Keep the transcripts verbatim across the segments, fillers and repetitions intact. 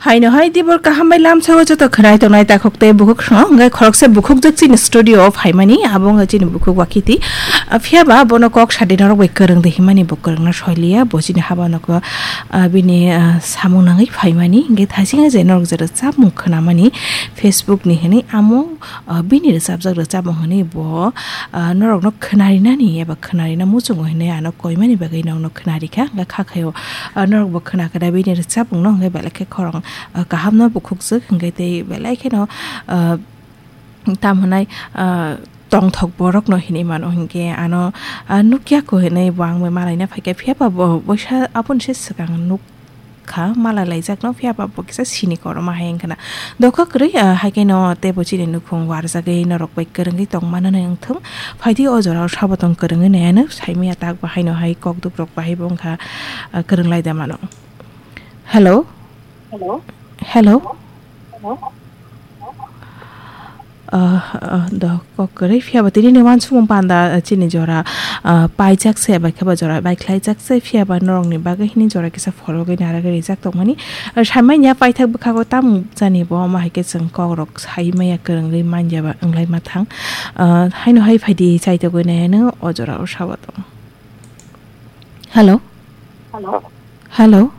Haino hai dibor kaham bai lamsao joto khwnai tongnai takhuk tei bukhuk song, hwnkhe khoroksa bukhuk jak chini studio o phaimani, abo wngkha chini bukhuk Wakiti. Ah, phiya ba bono kok sadi norok bai kwrwng di himani bo kwrwngna soiliya, bo chini haba nokho, ah, bini, ah, samung nangwi phaimani, hwnkhe thaisinga je norok je rwchapmung khwnamani Facebook ni hwnwi amo, ah, bini rwchapjak rwchapmung hwnwi bo, ah, norokno khwnarinani eba khwnarina muchungo hwnwi ano koimani bagwi norokno khwnarikha, hwnkhe kha khaio, ah, norokbo khwnakha da bini rwchapmungno, hwnkhe belai khe khorang, ah, kahamno bukhukjak, hwnkhe tei belai kheno, ah, tamo hwnai, ah, tongthok borokno hinwi mano, hwnkhe ano, ah, nukya kho hinwi bo ang bai malaina phaikha, phiya ba bo boisa aboni se swkang nuk kha, malai laijakno, phiya ba bo kisa sini koroma hai wngkhana. Dokha kwrwi, ah, hai kheno teibo chini nukhung warjagwi norok bai kwrwngwi tongmano wngthung. Phaidi o jorao sabo tong kwrwngwi naiano, saimaya tak bahaino hai kokduk rok bahai bo wngkha, ah, kwrwng lai da mano. Hello? Hello? Hello? Ah, ah, do kok kwrwi phiya ba tini ni wansukmung panda, ah, chini jora, ah, paijak se bai khe ba jora bai khlaijak se, phiya ba norok ni bagwi hini jora kisa phorogwi narwgwi rijak tongmani. Ah, saimanya paithak bwkhago tamo jani bo omo hai khe chwng kok rok saimaya kwrwngwi manya ba wnglai ma thang. Ah, haino hai phaidi chaitogwi nai ano o jora o sabo tong. Hello? Hello? Hello?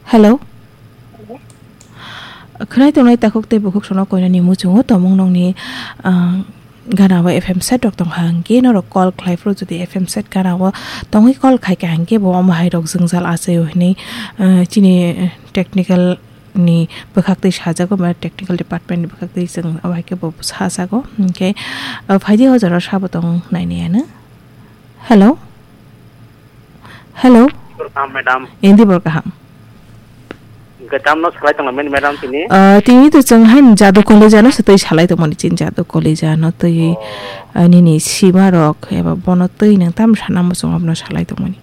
Hello? Khwnai tongnai takhuk tei bukhuk sono koinani muchungo tomung nokni, ah, gana o F M set rok tongkha hwnkhe norok call khlai phuru jodi F M set gana o tongwi call khaikha hwnkhe bo omo hai rok jwngjal achaio hinwi, ah, chini technical ni bwkhak twi sajago ba technical department ni bwkhak twi chwng abo hai khe bo sajago hwnkhe, ah, phaidi o jora sabo tong nainaiano. Hello? Hello? Dibor kaham, madam. Indi bor kaham. Hwnkhe tamno salai tonglaimani, madam, tini? Ah, tini to chwng hain Jadu College ano se twi salai tongmani, chini Jadu College ano twi, oh, ah, nini sima rok eba bono twi nang tam sana muchung abono salai tongmani.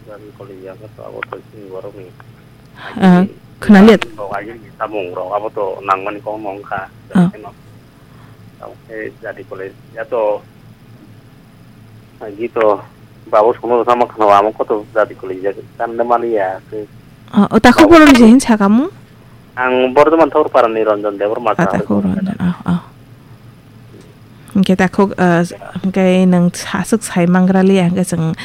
Jadu College ano to abo to chini borokni. Ah, khwnaliya. Rok agini samung rok abo to nangmani kok nongkha. Ah. Tamo khe Jadu College ya to Agi to babu sono sama khna amo koto Jadu College ya kan de mali ya ke. Ah, o takhuk borok ni je hin sakamu? Ang Bordhoman Thakurpara ni Ranjan Debbarma. Ah, sa takhuk Ranjan, ah, ah. Hingke takhuk, ah, hingke nang sasuk sai mangrali ya, hingke chwng,